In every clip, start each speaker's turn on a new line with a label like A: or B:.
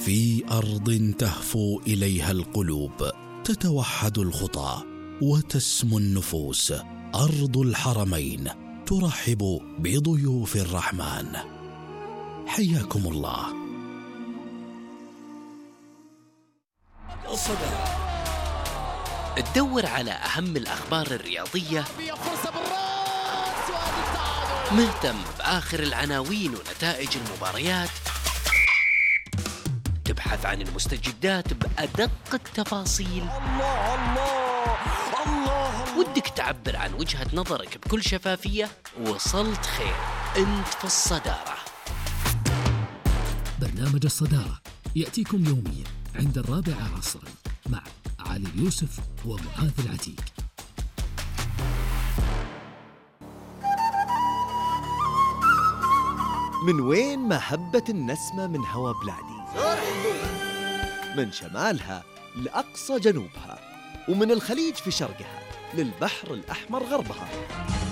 A: في أرض تهفو إليها القلوب، تتوحد الخطى وتسمو النفوس، أرض الحرمين ترحب بضيوف الرحمن. حياكم الله.
B: الصدارة. تدور على أهم الأخبار الرياضية، مهتم بآخر العناوين ونتائج المباريات، تبحث عن المستجدات بأدق التفاصيل. الله ودك تعبر عن وجهة نظرك بكل شفافية؟ وصلت خير، أنت في الصدارة.
C: برنامج الصدارة يأتيكم يوميا عند 4 عصرا مع علي اليوسف ومعاذ العتيق.
D: من وين ما هبت النسمة من هوا بلادي، من شمالها لأقصى جنوبها، ومن الخليج في شرقها للبحر الأحمر غربها.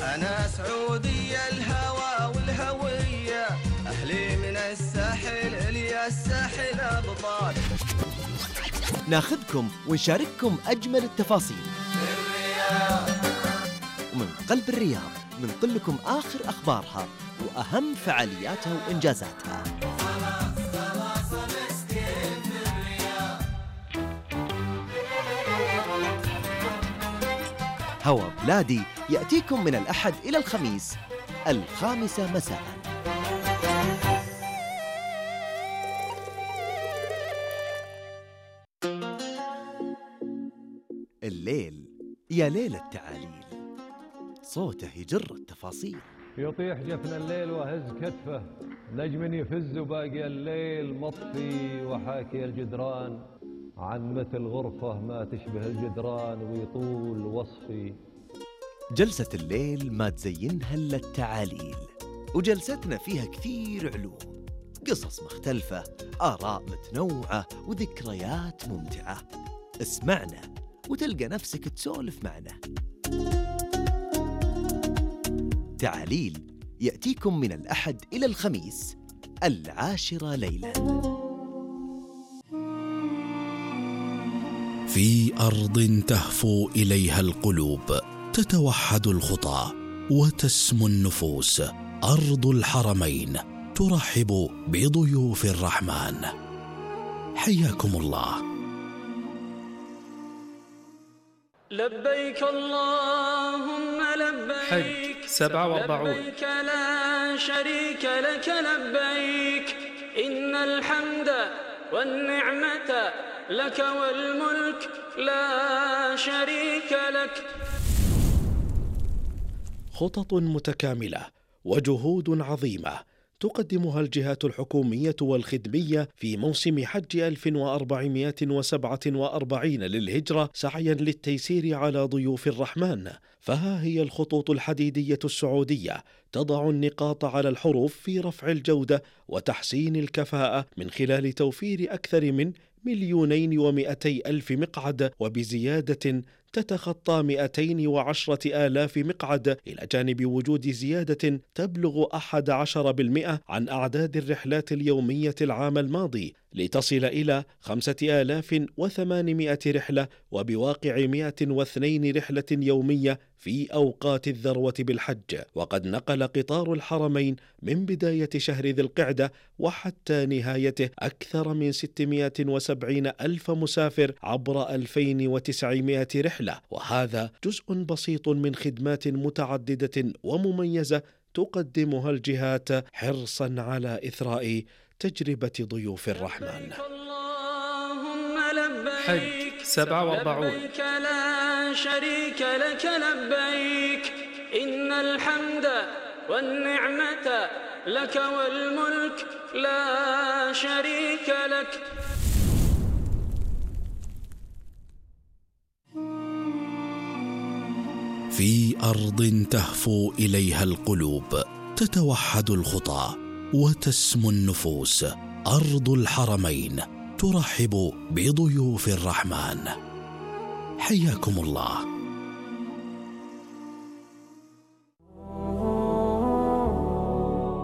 E: أنا سعودية الهوى والهوية، أهلي من الساحل إلي الساحل أبطال.
D: ناخذكم ونشارككم أجمل التفاصيل ومن قلب الرياض ننقل لكم آخر أخبارها وأهم فعالياتها وإنجازاتها. هوا بلادي يأتيكم من الأحد إلى الخميس 5:00 مساء. الليل يا ليل التعاليل، صوته يجر التفاصيل.
F: يطيح جفن الليل وهز كتفه، نجم يفز وباقي الليل مطفي، وحاكي الجدران عن مثل غرفة ما تشبه الجدران ويطول وصفي.
D: جلسة الليل ما تزينها إلا التعاليل، وجلستنا فيها كثير علوم، قصص مختلفة، آراء متنوعة وذكريات ممتعة. اسمعنا وتلقى نفسك تسولف معنا. تعاليل يأتيكم من الأحد إلى الخميس 10 ليلاً.
A: في أرض تهفو إليها القلوب، تتوحد الخطى وتسمو النفوس، أرض الحرمين ترحب بضيوف الرحمن. حياكم الله.
G: لبيك اللهم لبيك،
B: حج 47.
G: لبيك لا شريك لك لبيك، إن الحمد والنعمة لك والملك لا شريك لك.
A: خطط متكاملة وجهود عظيمة تقدمها الجهات الحكومية والخدمية في موسم حج 1447 للهجرة، سعيا للتيسير على ضيوف الرحمن. فها هي الخطوط الحديدية السعودية تضع النقاط على الحروف في رفع الجودة وتحسين الكفاءة، من خلال توفير أكثر من 2,200,000 مقعد، وبزيادة تتخطى 210,000 مقعد، إلى جانب وجود زيادة تبلغ 11% عن أعداد الرحلات اليومية العام الماضي، لتصل إلى 5,800 رحلة، وبواقع 102 رحلة يومية في أوقات الذروة بالحج. وقد نقل قطار الحرمين من بداية شهر ذي القعدة وحتى نهايته أكثر من 670,000 مسافر عبر 2,900 رحلة، وهذا جزء بسيط من خدمات متعددة ومميزة تقدمها الجهات حرصا على إثراء تجربة ضيوف الرحمن.
B: حج 47.
G: لبيك لا شريك لك لبيك، إن الحمد والنعمة لك والملك لا شريك لك.
A: في أرض تهفو إليها القلوب، تتوحد الخطى وتسمو النفوس، أرض الحرمين ترحب بضيوف الرحمن. حياكم الله.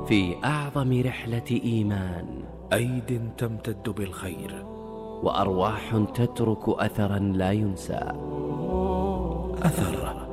B: في أعظم رحلة إيمان،
A: أيد تمتد بالخير،
B: وأرواح تترك أثرا لا ينسى.
A: أثر.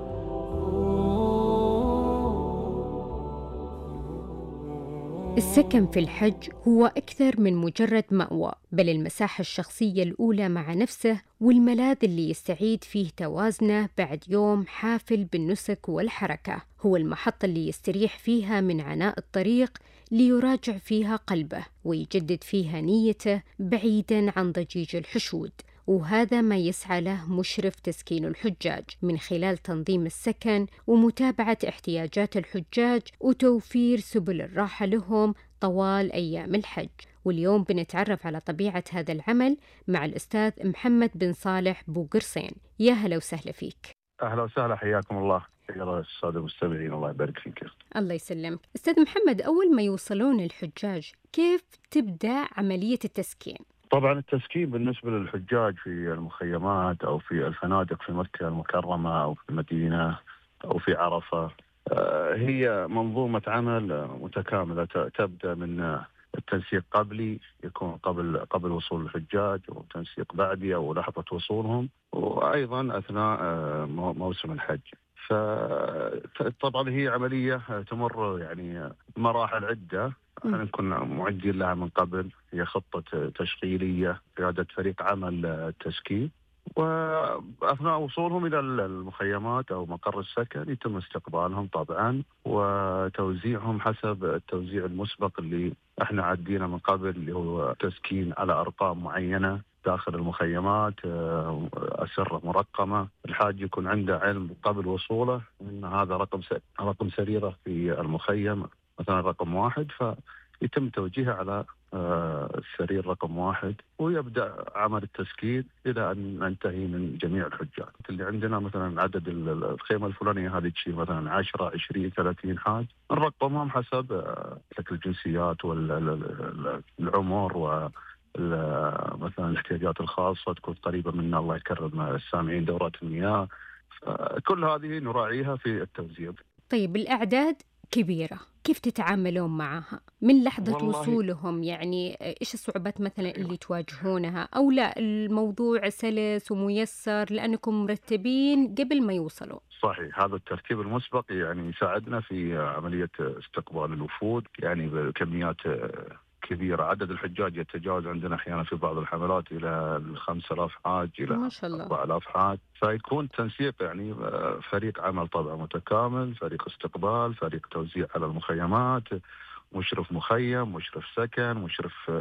H: السكن في الحج هو أكثر من مجرد مأوى، بل المساحة الشخصية الأولى مع نفسه والملاذ اللي يستعيد فيه توازنه بعد يوم حافل بالنسك والحركة. هو المحطة اللي يستريح فيها من عناء الطريق، ليراجع فيها قلبه ويجدد فيها نيته بعيداً عن ضجيج الحشود. وهذا ما يسعى له مشرف تسكين الحجاج من خلال تنظيم السكن ومتابعة احتياجات الحجاج وتوفير سبل الراحة لهم طوال أيام الحج. واليوم بنتعرف على طبيعة هذا العمل مع الأستاذ محمد بن صالح بوقرصين. يا هلا وسهلا فيك.
I: أهلا وسهلا، حياكم الله. يا السادة المستمعين، الله يبارك فيك.
H: الله يسلمك. أستاذ محمد، أول ما يوصلون الحجاج كيف تبدأ عملية التسكين؟
I: طبعا التسكين بالنسبة للحجاج في المخيمات أو في الفنادق في مكة المكرمة أو في المدينة أو في عرفة هي منظومة عمل متكاملة تبدأ من التنسيق قبلي، يكون قبل وصول الحجاج، وتنسيق بعدي أو لحظة وصولهم، وأيضا أثناء موسم الحج. فطبعا هي عملية تمر يعني مراحل عدة، احنا نكون معدين لها من قبل. هي خطة تشغيلية، قيادة فريق عمل تسكين، وأثناء وصولهم إلى المخيمات أو مقر السكن يتم استقبالهم طبعا وتوزيعهم حسب التوزيع المسبق اللي احنا عدينا من قبل، اللي هو تسكين على أرقام معينة داخل المخيمات، أسرة مرقمة. الحاج يكون عنده علم قبل وصوله أن هذا رقم سريرة في المخيم، مثلا رقم 1، فيتم توجيهه على السرير رقم 1، ويبدأ عمل التسكين إلى أن ننتهي من جميع الحجاج. اللي عندنا مثلا عدد الخيمة الفلانية هذه تشيل مثلا 10 20 30 حاج، نرقمهم حسب شكل الجنسيات والعمر مثلا الاحتياجات الخاصة تكون قريبة منا، الله يكرم السامعين، دورات المياه، كل هذه نراعيها في التوزيع.
H: طيب الأعداد كبيرة، كيف تتعاملون معها من لحظة وصولهم؟ يعني إيش الصعوبات مثلا اللي تواجهونها، أو لا الموضوع سلس وميسر لأنكم مرتبين قبل ما يوصلوا؟
I: صحيح، هذا الترتيب المسبق يعني يساعدنا في عملية استقبال الوفود، يعني بكميات كبيرة. عدد الحجاج يتجاوز عندنا أحيانا في بعض الحملات إلى 5000 حاج إلى 4000 حاج، فيكون تنسيق يعني فريق عمل طبعا متكامل، فريق استقبال، فريق توزيع على المخيمات، مشرف مخيم، مشرف سكن، مشرف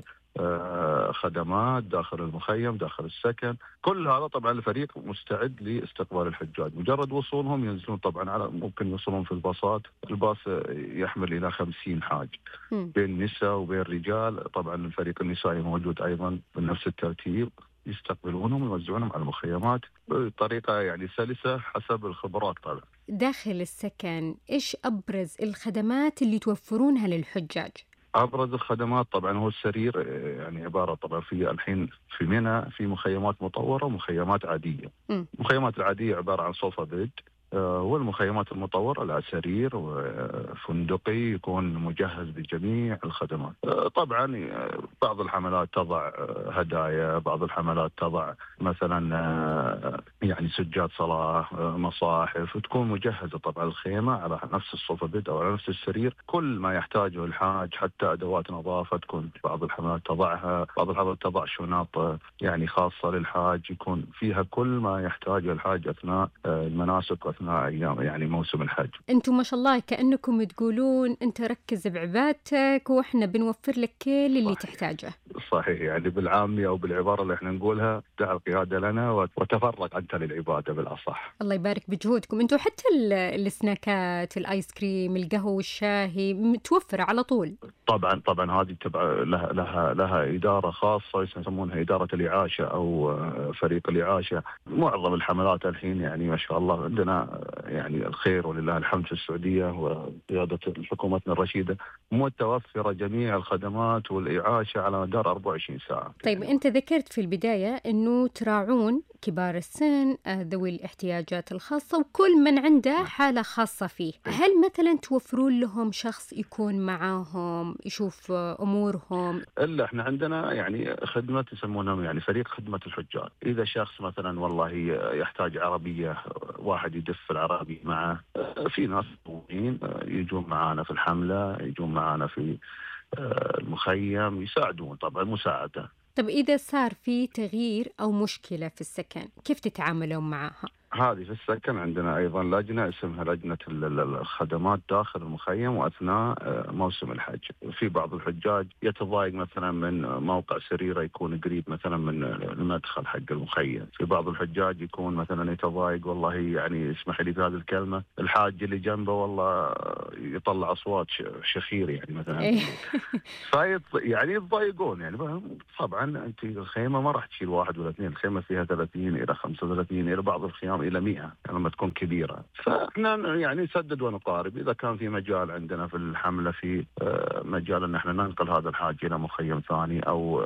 I: خدمات داخل المخيم داخل السكن. كل هذا طبعا الفريق مستعد لاستقبال الحجاج. مجرد وصولهم ينزلون طبعا على، ممكن يوصلون في الباصات، الباص يحمل إلى 50 حاج بين نساء وبين رجال. طبعا الفريق النسائي موجود أيضا بنفس الترتيب، يستقبلونهم ويوزعونهم على المخيمات بطريقة يعني سلسة حسب الخبرات. طبعا
H: داخل السكن إيش أبرز الخدمات اللي توفرونها للحجاج؟
I: أبرز الخدمات طبعا هو السرير، يعني عبارة طبعا في الحين في منى في مخيمات مطورة ومخيمات عادية. المخيمات العادية عبارة عن صوفة بيد، والمخيمات المطورة لا سرير وفندقي يكون مجهز بجميع الخدمات. طبعا بعض الحملات تضع هدايا، بعض الحملات تضع مثلا يعني سجاد صلاة، مصاحف، وتكون مجهزة طبعا الخيمة على نفس الصوفة بيد أو على نفس السرير. كل ما يحتاجه الحاج، حتى أدوات نظافة تكون بعض الحملات تضعها، بعض الحملات تضع شنط يعني خاصة للحاج يكون فيها كل ما يحتاجه الحاج أثناء المناسك وأثناء أيام يعني موسم الحج.
H: أنتم ما شاء الله كأنكم تقولون أنت ركز بعبادتك وإحنا بنوفر لك كل اللي تحتاجه.
I: صحيح، يعني بالعامية أو بالعبارة اللي إحنا نقولها، دع القيادة لنا وتفرغ أنت للعبادة بالأصح.
H: الله يبارك بجهودكم. أنتم حتى السناكات، الآيس كريم، القهوة والشاهي متوفرة على طول.
I: طبعا هذه تبع لها إدارة خاصة يسمونها إدارة الإعاشة أو فريق الإعاشة. معظم الحملات الحين يعني ما شاء الله عندنا يعني الخير ولله الحمد في السعودية وقيادة حكومتنا الرشيدة متوفرة جميع الخدمات والإعاشة على مدار 24 ساعة.
H: طيب أنت ذكرت في البداية أنه تراعون كبار السن، ذوي الاحتياجات الخاصة، وكل من عنده حالة خاصة فيه. هل مثلا توفرون لهم شخص يكون معاهم يشوف أمورهم؟
I: إلا إحنا عندنا يعني خدمة يسمونها يعني فريق خدمة الحجاج. إذا شخص مثلا والله يحتاج عربية، واحد يدف العربية معه، في ناس يجون معانا في الحملة، يجون معانا في المخيم، يساعدون طبعا مساعدة.
H: طب إذا صار في تغيير أو مشكلة في السكن كيف تتعاملون معها؟
I: هذه في السكن عندنا أيضا لجنة اسمها لجنة الخدمات داخل المخيم وأثناء موسم الحج. في بعض الحجاج يتضايق مثلا من موقع سريره يكون قريب مثلا من المدخل حق المخيم. في بعض الحجاج يكون مثلا يتضايق، والله يعني اسمح لي بهذه الكلمة، الحاج اللي جنبه والله يطلع أصوات شخير يعني مثلا. يعني يتضايقون يعني. طبعا أنت الخيمة ما راح تشيل واحد ولا اثنين، الخيمة فيها 30 إلى 35 إلى بعض الخيام إلى 100 يعني لما تكون كبيرة. فإحنا يعني نسدد ونقارب. إذا كان في مجال عندنا في الحملة، في مجال أن احنا ننقل هذا الحاج إلى مخيم ثاني أو